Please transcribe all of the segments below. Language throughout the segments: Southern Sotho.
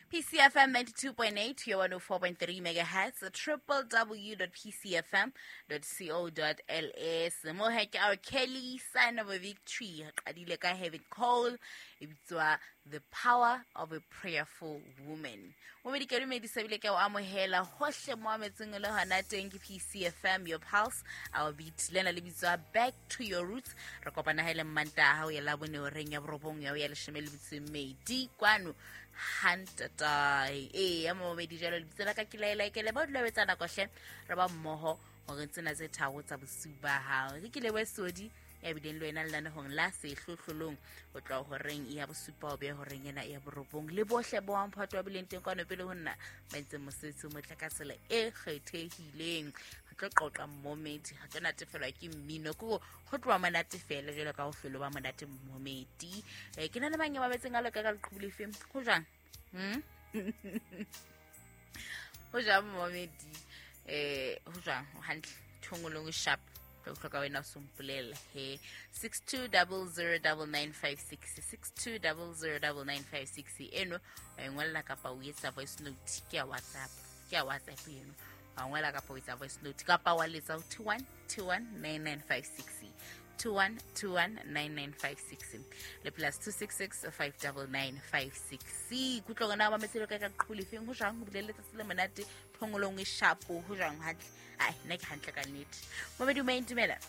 PCFM 92.8 your 104.3 megahertz, www.pcfm.co.ls. Mo he ke our Kelly, Sign of a Victory. Qadile ka Heaven Call, e bitswa The Power of a Prayerful Woman. Momedi ke dumedisa ebile ke o amohela hohle mo ametseng le hona teng ke PCFM, your pulse, our beat. Lena le bitswa Back to Your Roots. Re kopana ha ile Mmantaha ho ya Labone horeng ya 9 ya ho ya 12 kwano hantatae. Ee, momedi jalo lebitso la ka ke laelaekele ba dula betsa nako hle re ba mmoho hore tsena tse tharo tsa bosiu ba hao. Re ke lebohe Sodi ya bileng le wena lenanehong la sehlohlolong ho tloha horeng ya 7 ho beha horeng ena ya 9, le bohle bo wamphato wa bileng teng kwano pele ho nna ba entseng mosebetsi o motle ka tsela e kgethehileng. Re tlo qoqa mmomedi, re tlo natefelwa ke mmino, ke ho tloha monate fela jwalo ka ho hlolo ba monate mmomedi. Ke na le mang ya mametseng a loka ka leqhubu lefeng? Ho jwang? Ho jwang mmomedi? Ho jwang? O hantle? Thongolong e sharp. Tlo hloka wena o sompolella he 62009956, 62009956 eno wa e ngolla kapa o etsa voice note ke ya WhatsApp, ke ya WhatsApp eno wa ngola kapa o etsa voice note kapa wa letsa 21219956, 21219956 le plus 266 59956. Kutlwa gona ba metselo ka ka qhole feng ho jwang ho bile letsatsi le monate thongolong e shapo ho jwang hantle? Ai, nna ke hantle ka nnete. Momedi o maintumela.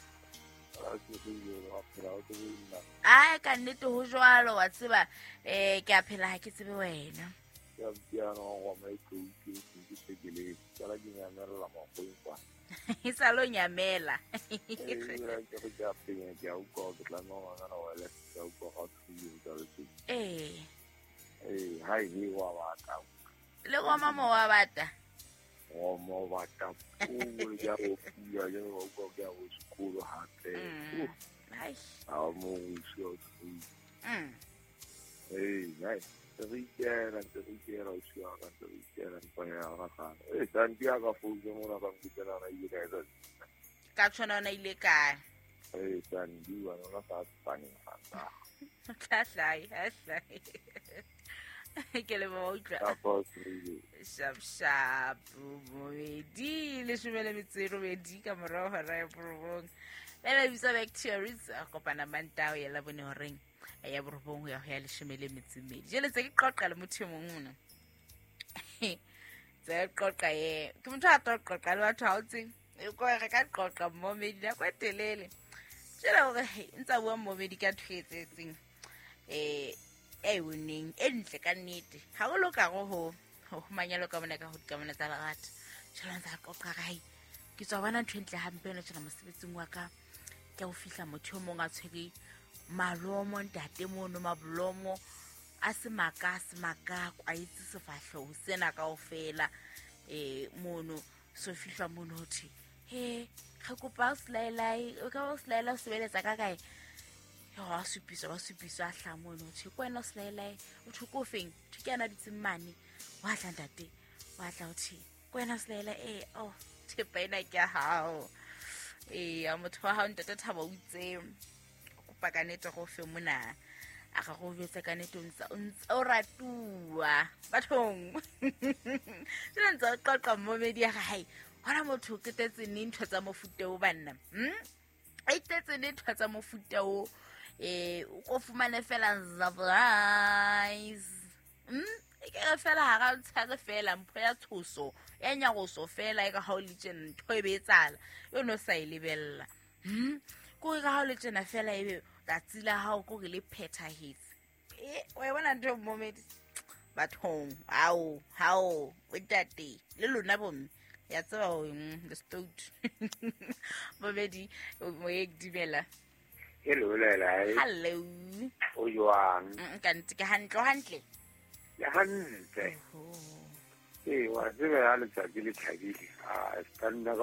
Ai, ka nnete ho jwalo wa tseba, ke a phela ha ke tsebe wena. E sa lo nyamela. Ee. Le goma mo wa bata. Mo bata o ya o pula ya o go ya o sekolo hape. Ai. A mo o sio. Hey, ai. Re ikela o sio ka re ikela mpa ya ra ga. Eh, Santiago founu mo na ba nkutela ra ile ka. Ka tshwana ona ile kae? Eh, Sandiwa nona sa tsane ga. Tla hlai, ha hlai. Ke le mo utlwa. Shap shap momedi 18 ka morao hora ya 9. Le bitsa Back to Your Roots, kopana Mantao ya Labone horeng ya 9 ho ya ho ya 12. Jele tse ke qoqa le motho e mong mona. Tse qoqa ye. Ke motho a tlo qoqa le batho ha o tsebe. E ko re ka qoqa momedi nako e telele. Jele hore ntsa bua momedi ka ntho e etsetseng. E winning e ntle ka nnete. Ha o loka go ho manyalo ka bona ka ho dikamano tsa lerato. Jwale ntsa qoqa hai. Ke tswa bona ntho e ntle hampe yona tjena mosebetsing wa ka. Ke ho fihla motho o mong a tshwere malomo ntate mono mablomo a se maka kwaitse sefahleho sena kaofela mono so fihla mono ho thwe he re kopa o selaelai o ka o selaela o sebeletsa ka kae? Wa supisa a hla mono ho thwe ke wena o selaelai o thwe ko feng? Thwe ke yana dutseng mane. Wa tla ntate, wa tla ho thwe ke wena o selaela oh thepa ena ke ya hao. Ya motho wa hao ntate Thabo o itse kopa ka nnete go fe mona a ga go jwetsa ka nnete o ntse o ratuwa bathong. Jwale ntse o qoqa momedi ya hae hona motho o qetetse neng ntho tsa mofuta o banna? A itetse neng ntho tsa mofuta o? O ko fumane fela surprise. E ke re fela hara o tshare fela mpho ya tshoso ya nyaroso fela e ka ha o le tjena ntho e be etsala yo no sa e lebella. Ko re ha o le tjena fela ebe tsatsi la hao ko re le phethahetse. O e bona ntho momedi bathong ao hao o ntate le lona bomme ya tseba ho the stout. Momedi mo e dumela. Hello Lela. Hello. O jwang? Ka ntse ke hantle hantle. Ya hantle. Ee, wa tseba ya letsatsi le thabile. A stanna ka